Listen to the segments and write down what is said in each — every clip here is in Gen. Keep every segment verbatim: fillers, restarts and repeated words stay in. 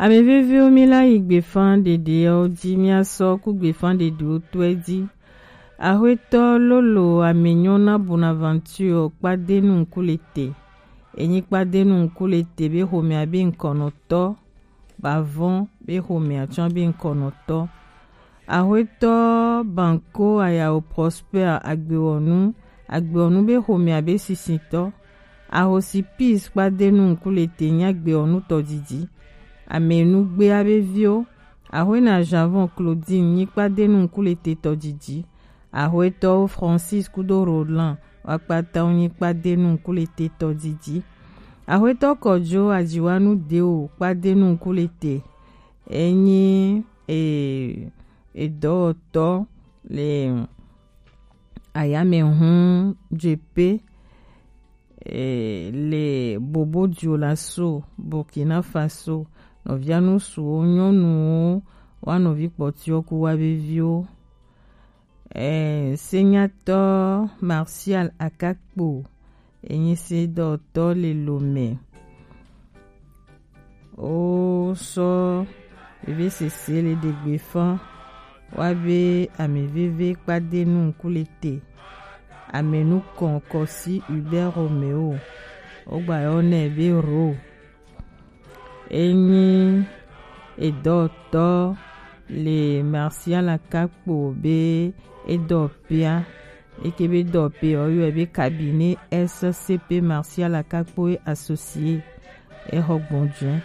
Ame veviwo, mi la yi gbefa ɖeɖewo ji, mi asɔ ku gbefa ɖeɖewo tɔe ji. Axwetɔ Lolo Amenyona Bonaventure Kpadenu Nkulete. Enyi Kpadenu Nkulete be xomea be ŋkɔnɔtɔ, Bavɔn be xomea tsɔ be ŋkɔnɔtɔ. Axwetɔ Banko Ayao Prosper Agbewɔnu, Agbewɔnu be xomea be sisitɔ. Ahosi Peace Kpadenu Nkulete nyi Agbewɔnu tɔdidi. Amenugbea be viwo. Axwena Janvon Claudine nyi Kpadenu Nkulete tɔdidi. Axwetɔwo Francis kudo Roland wa kpata wo nyi Kpadenu Nkulete tɔdidi. Axwetɔ Kɔjo Ajiwanu Deo Kpadenu Nkulete. Enyi e, edɔwɔtɔ le ayamehun jepe, e, le Bobo Dioulasso, Burkina Faso. Nɔvia nusuwo nyɔnuwo wa nɔvi kpɔtiwo ku wa veviwo. E, senyatɔ Martial Akakpo, enyi se dɔtɔ le Lomé. Wo sɔ veve sese le ɖegbe fã wa be ame veve Kpadenu Nkulete, ame nukɔn Kɔsi Hubert Romeo, wo gba yɔ nɛ be Ro. Enyi edɔtɔ le Martial Akakpo be edɔpea, eke be dɔpe ɔ yɔe be cabinet S C P Martial Akakpo et associé. Exɔ gbɔnjɔe.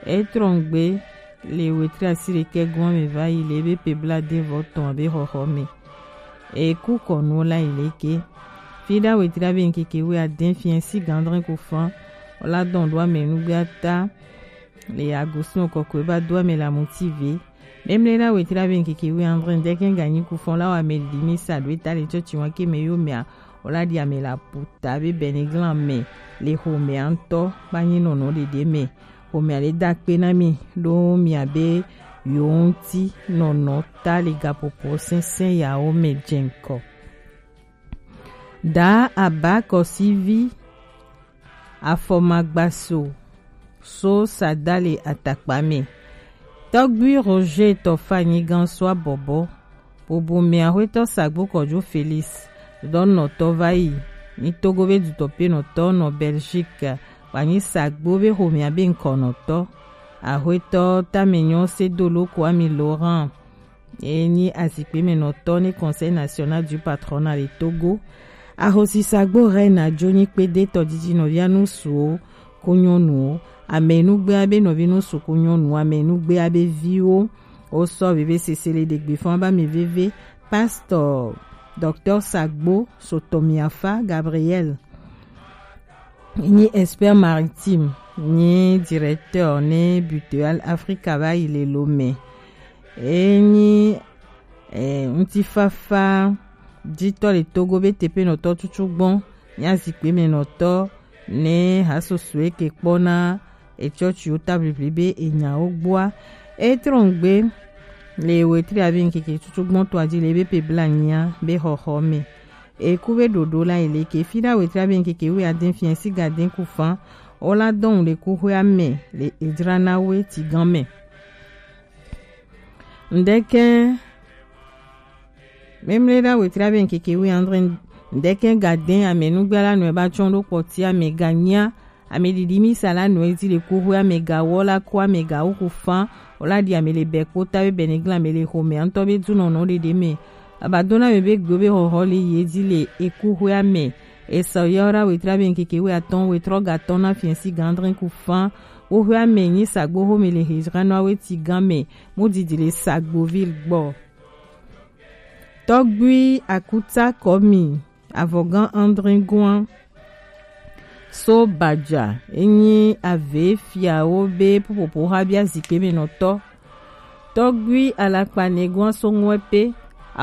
Etrɔngbe le wetri asi ɖekɛ gɔn me va yi le ebe pe bla de vɔ tɔn be xɔxɔ me. Eku kɔnuwo la yi leke. Fiɖa wetri abe ŋkeke wi adɛn fiɛ si gandrɛn ko fan. Ola dɔn ɖo ame nugbe ata le agosin kɔkɔe ba do ame la motive. Memle la wetri abe ŋkeke wi andre ndɛkɛ ganyi ku fan la wa ame li mi sa do eta le tsɔtsi wa ke me yo mea. Ola di ame la puta be bɛniglan me le xomea ŋutɔ ba nyi nɔnɔ ɖeɖe me. Xomea le da kpe na mi ɖo mia be yewo ŋuti nɔnɔ ta le gaƒoƒo sɛnsɛn yawo me dze ŋkɔ. Da aba kɔsivi afɔmagbaso so sada le atakpa me. Tɔgbui Roger Tɔfa nyigan so abɔbɔ. Bobo mea xwetɔ Sagbo Kɔjo Felix dɔnɔtɔ va yi. Ni Togo be dutɔpenɔtɔ nɔ Belgique. Wanyi Sagbo be xomea be ŋkɔnɔtɔ. Axwetɔ Tamenyɔ Sedolo Kwame Laurent. Enyi azikpemenɔtɔ ne Conseil National du Patronat le Togo. Ahosi Sagbo Reine Ajo nyi kpede tɔdidi nɔvia nusuwo ku nyɔnuwo. Amenugbea be nɔvi nusu ku nyɔnuwo, amenugbea be viwo. Wo sɔ veve sese le ɖegbe fɔn ba mi veve. Pasteur Docteur Sagbo Sotomiafa Gabriel nyi expert maritime, nyi directeur ne Butoal Africa va yi le Lomé. Enyi eh, ŋutifafa jitɔ le Togo be teƒenɔtɔ tutu gbɔn, nyi azikpemenɔtɔ ne hasosoe ke kpɔna etsɔtsiwo ta ʋliʋli be enyawo gbɔa. Etrɔngbe le wetri abe ŋkeke tutu gbɔn tɔa ji le be pe bla nyia be xɔxɔ me. Eku be ɖoɖo la yi leke. Fiɖa wetri abe ŋkeke wi adɛn fiɛ si gadɛn ku fan. Ola dɔn le kuxoea me le edzra na we ti gan me. Ndɛkɛ memle ɖa wetri abe ŋkeke wi andre. Ndɛkɛ gadɛn amenugbea la nɔe ba tsɔn ɖo kpɔtia me ganyia. Ame ɖiɖi mi sa la nɔe di le kuxoea me gawɔ la ku ame gawo ku fan. Ola di ame le bɛ kpota be bɛniglan ame le xomea ŋutɔ be dunɔnɔ ɖeɖe me. Abadona me be gbe be xɔxɔ le yi edzi le ekuxoea me. Esau ya ora wetra be ŋkeke wi atɔn wetrɔ gatɔn na fiɛ si gandrin ku fan. Woxoea me nyi Sagbo xome le Hezranoa weti gan me. Mu didi le Sagboville gbɔ. Tɔgbui Akuta Kɔmi, avɔgan Andrin Guan. So Badja, enyi ave fiawo be popopo xa bia zikpe me nɔtɔ. Tɔgbui Alakpa Neguan so ŋue pe,